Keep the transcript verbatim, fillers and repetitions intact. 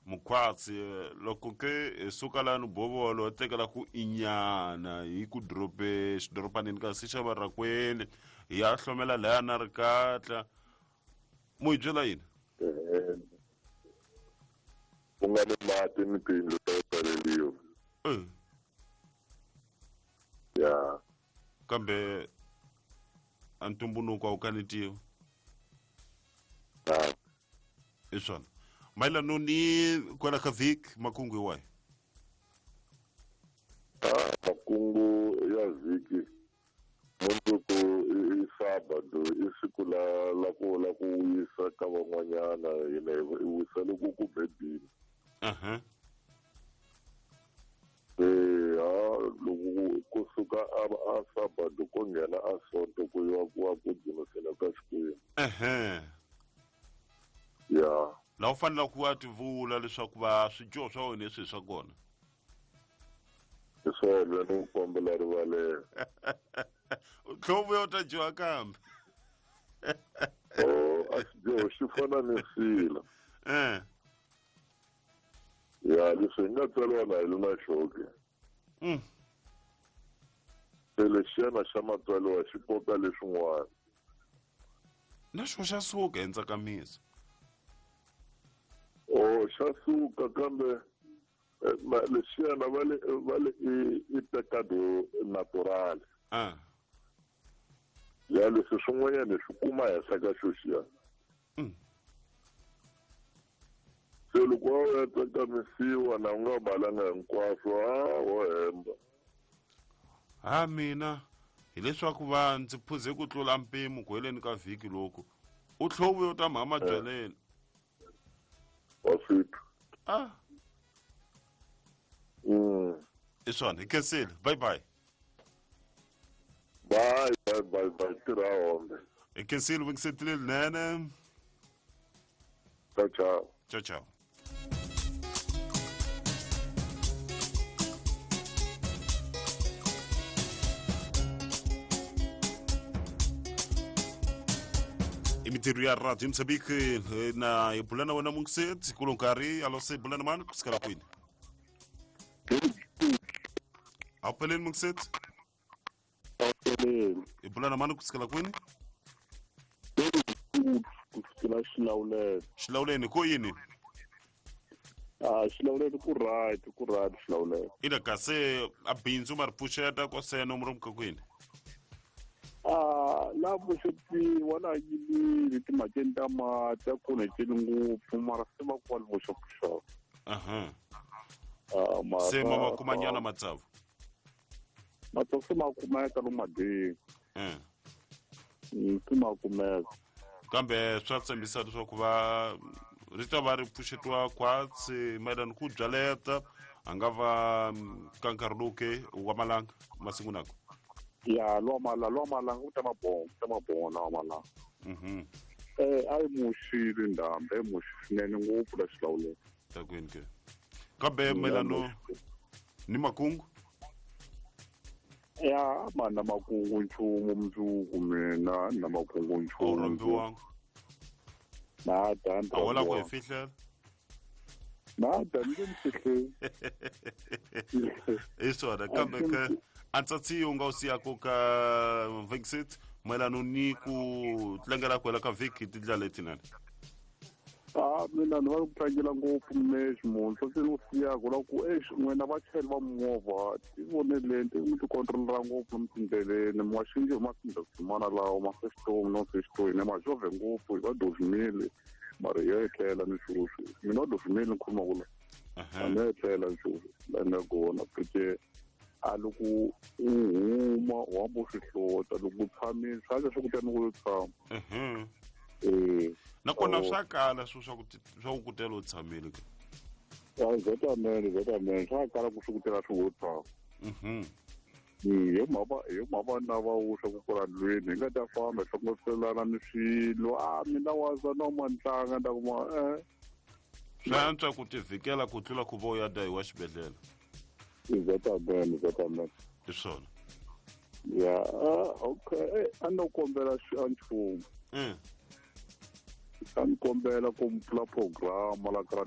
Mukhwatsi loko ke suka lani bovolo tekela ku inyana hi ku dorobe xidorobanini kasi xa Varakweli hi ya hlomela laya na rikatla mu hi byela yini ku nga ni mati ni tiyindlu ta ku pfaleliwa ya kambe a ntumbuluko a wu kanetiwa hi swona mayelano ni kwala ka vhiki makungu hi wahi a makungu ya vhiki mundzuku i sabado i siku la la ku la ku wisa ka van'wanyana hina hi wisa loko ku bedini aha se ha loko kusuka a a sabado ko nghena a sonto ku yiwa ku wa ku dzunisela ka Xikwembu ehe ya laha u faneleke ku va tivula leswaku va swidyoho swa wena leswi hi swa kona hi swona ni ku kombela rivalelo tlhovu ya u ta dyoha kambe o a xidyoho xi fana ni sila eh ya leswi hi nga tswariwa na hi li na xoke mm. se lexiyana xa matswariwa xi koka leswin'wana na xo xa suka hi ntsakamiso o xa suka kambe lexiyana va le va le i i pecado natural ah ya leswi swin'wanyana hi swi kuma henhla ka xo xiya mm. se loko wa ya tsakamisiwa na u nga balanga hinkwaswo a wo hemba ha mina hileswaku va ndzi phuze ku tlula mpimo ku heleni ka vhiki loku u tlhovu yo ta mhama byaleni wa swi twa ah mm. hi swona hi khensile bye bye bye bye bye bye tirha hombe hi khensile vungisetile linene ciao ciao ciao ciao i mintirho ya radio Mozambique na hi bula na wena mungiseti kulo nkarhi alo se bula na mani ku sukela kwini a wu pheleni mungiseti hi bula na mani ku sukela kwini ku sukela Xilawulele Xilawuleni ko yini a Xilawulele ku right ku right Xilawulele ina kasi a bindzu ma ri pfuxeta ko seno mu ri mukakwini a la pfuxetiwa la yimile timhakeni ta mati a ku onhekeli ngopfu mara se va ku va li voxapuxaka aha a mara se ma ma kumanyana matsavu matsavu se ma kumeka lomu madini eh se ma kumeka kambe swa tshembisa leswaku va ri ta va ri pfuxetiwa khwatsi mayelana ku byaleta a nga va ka nkarhi lowu ke wa malanga masiku nako ya lwa mala lwa malanga ku ta mabongo ku ta mabongo lawa malanga mhm eh a yi muxile ndhambi a yi muxi swinene ngopfu la Xilawulele takwini ke kambe mayelano ni makungu ya ma na makungu nchumu mundzuku mina na makungu a wu nchumu rhambiwanga na ta a wo lava ku hi fihlela na ta ni nge mi fihleli hi swona kambe ke a ntsatsi u nga wu siyaka ka vexit mayelano ni ku tlangela ku hela ka vhiki hi tindlela letinene a mina ni va ku tlangela ngopfu mexi munhu swo se ni wu siyaka la ku exi n'wina vachayeri va mimovha ti voneleni ti mi ti controlera ngopfu lomu tindleleni mi nga xingi hi masindasimana lawa ma sexitomi no sexitomi ma xovhe ngopfu hi va dovimile mara hi ya etlela ni swoswi mina wa dovimile ni khuluma ku la a ni ya etlela ni swoswi la ni ya kona porque a loko u huma u hamba u swi hlota loko u tshamile swi antswa swa ku ta ni ku yo tshama Mhm. eh nakona Oh. swa kala swo swa ku ti- swa ku kutela u tshamile ke zetamene zetamene swa kala ku swi kutela swi wo tshama Mhm. hi mhaka hi mhaka na va wuxa ku kula ndlwini hi nga ta famba hi hlongoselana ni swilo a mina waza no mantlanga nda kuma eh swi antswa ku tivhikela ku tlula ku va u ya dayiwa xibedhlele zetamene zetamene hi swona ya ah, okay eh, a no kombela xi- a nchumu Mm. a ni kombela ku mi pfula programa la ka radio